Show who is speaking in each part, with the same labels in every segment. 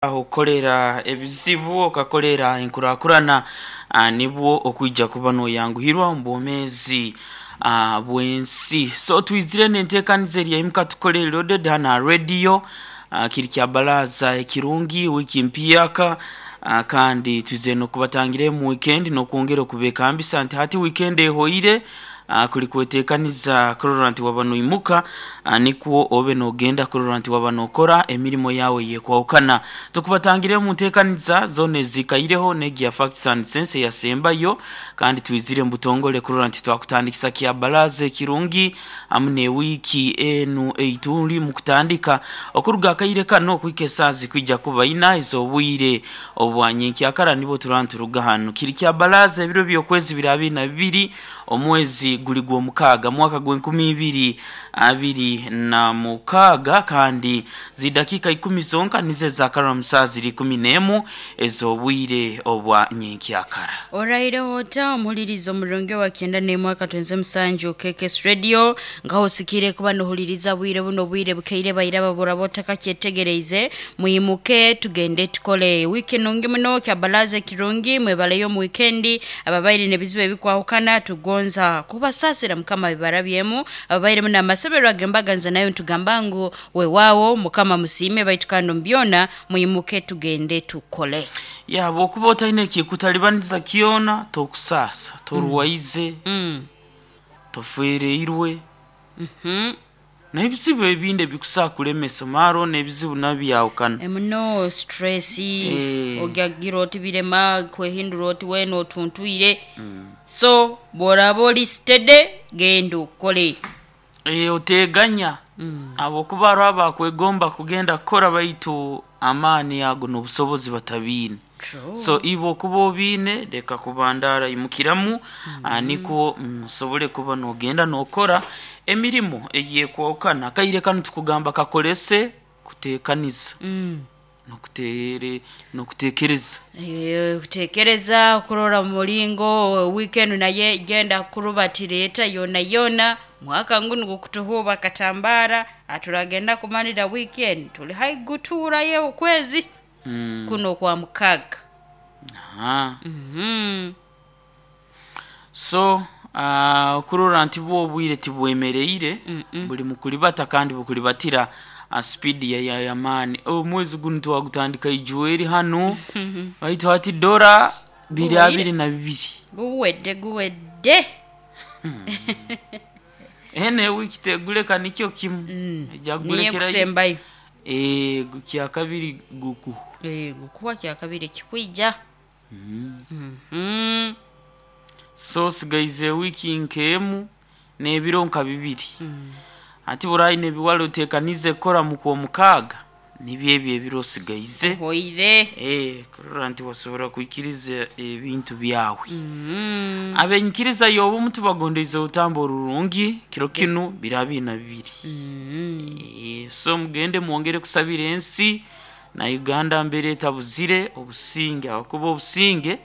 Speaker 1: Okukolera ebizibu okakolera enkurakurana nibwo okwija kuba noyanguhirwa omu bwomeezi bw'ensi. So twizire n'enteekaniza eri eimuka tukole loaded hanu aha radio, kiri kya baraza ekirungi wiiki mpyaka, kandi twizire n'okubatangira emu weekend n'okwongera okubeekambisa nti hati weekend ehoire, kuli kweteekaniza kurora nti waba noimuka nikwo obe noogenda kurora nti waba nookora emirimo yaawe eyeekwahukana. Tukubatangire omu nteekaniza zoona eziikaireho n'egi ya Facts and Sense eyasembayo, kandi twizire mu butongole kurora nti twakutandikisa kya baraza ekirungi hamu n'ewiiki enu ei turi mu kutandika okuruga akaire kanu okuhika esaaha zikwija kuba ina ez'obwire obwa nyenkyakara nibwo turaba nituruga hanu. Kiri kya baraza ebiro by'okwezi biri abiri na bibiri omwezi guli gw'omukaaga mwaka gw'enkumi ibiri abiri na mukaaga, kandi zidakiika ikumi zonka nizo ezaakarora mu saaha ziri ikumi n'emu ez'obwire obwa nyenkyakara.
Speaker 2: Oraireho ota omuhuliriza omurungi owa kyenda n'emwe akatwenze musanju KKS Radio, nkaho osikiire kuba nohuliriza bwire buno obwire bukeire baira babura botakakyetegereize. Mwimuke tugende tukole. Wiiki nungi muno, kyabalaza ekirungi, mwebaleyo omu wiikendi. Ababaire n'ebizibu ebikwahukana tugonza kubasaasira Mukama bibarabyemu. Ababairemu n'amasoberwa ag'embaganiza nayo nitugamba ngu weewaawo Mukama musiime, baitu kandi omu byona mwimuke tugende tukole.
Speaker 1: Ya bw'okuba otaine ekikutalibaniza kyona tokusaasa, torwaize, tofereirwe, n'ebizibu ebindi ebikusobola kulemesa mara n'ebizibu nabyo byahukana.
Speaker 2: Muno stress, ogyagira oti birema kwehindura oti weena otuntwire. So bw'oraaba ori steady genda okole.
Speaker 1: Oteeganya habwokuba hariho abakwegomba kugenda kukora baitu amaani ago n'obusobozi batabiine. So iwe okuba obiine leka kubandaara imukiramu nikwo osobole kuba noogenda nookora emirimo eyeekwahukana. Akaire kanu tukugamba kakolese kuteekaniza n'okuteekereza.
Speaker 2: Kuteekereza kurora omu muringo wiiki enu nayo egenda kurubatira eta yoona yoona. Mwaka ngunu gukutuhuuba katambaara, turagenda kumalira wiiki enu tuli haihi kutuurayo okwezi kunu okwa mukaaga.
Speaker 1: So okurora nti bwo obwire tibwemereire, buri mu kuribata kandi bukuribatira aha sipiidi y'amaani. Omwezi gunu twagutandika Ijweri hanu baitu hati dora biri abiri na bibiri.
Speaker 2: Guwedde guwedde.
Speaker 1: Enu ewiiki teguleka nikyo kimu, eja
Speaker 2: Niyo
Speaker 1: kugulekerayo
Speaker 2: ekusembayo.
Speaker 1: Kyakabiri gukuha.
Speaker 2: Gukuha kyakabiri ekikwija.
Speaker 1: So osigaize ewiiki nk'emu n'ebiro nka bibiri. Hati bw'oraba oine ebi wari oteekaniize kukora mu kwomukaaga, nibyo ebyo ebiro osigaize
Speaker 2: Ohoire.
Speaker 1: Kurora nti wasobora kwikiriza ebintu byawe. Ab'enyikiriza y'obumu tubagondeize orutamba orurungi kiro kinu biri abiri na bibiri. So mugende mwongere kusabira ensi na Uganda mbere etabuzire obusinge ahakuba obusinge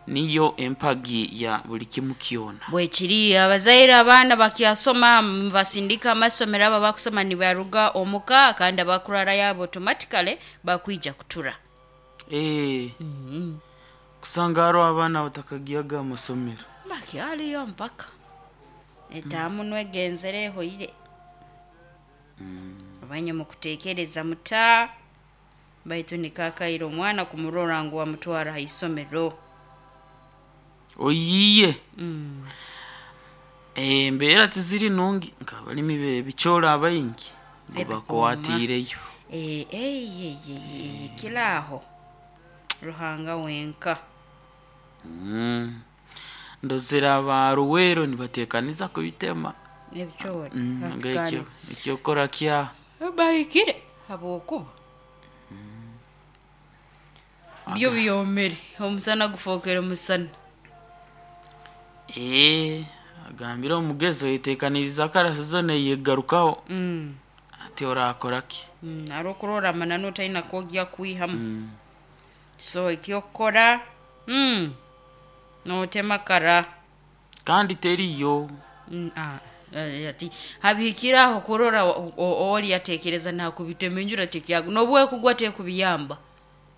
Speaker 1: niyo empagi ya buli kimu kyona.
Speaker 2: Bwekiri abazaire abaana bakyasoma mubasindika amasomero abo abakusoma nibaruga omuka kandi abakurarayo abo automatically bakwija kutura.
Speaker 1: Kusanga hariho abaana abatakagiyaga aha masomero.
Speaker 2: Bakyariyo mpaka etaamu nwegenzere ehoire. Abanye mukuteekereza muta baitu nikakaire omwana kumurora ngu wamutwara ha isomero.
Speaker 1: Oyiiye embeera tiziri nungi nk'abalimi b'ebicoori abaingi ngu bakwatiireyo.
Speaker 2: Kiri aho Ruhanga wenka.
Speaker 1: Ndozere aba Luweero nibateekaniza kubitema.
Speaker 2: Ebicoori
Speaker 1: Nga eky'okukora kyaha.
Speaker 2: Bahikire habwokuba byo byomere omusana gufookere musana.
Speaker 1: Agambire omugezi oyeteekanirize kara sizoni eyeegarukaho ati oraakora ki?
Speaker 2: Hariho okurora amananu otaine ak'ogya kwihamu. So eky'okukora nootema kara.
Speaker 1: Kandi teriyo.
Speaker 2: Ati habihikire aho kurora ori yateekereza naakubitema enjura tekyagu n'obu ekugwa tekubiyamba.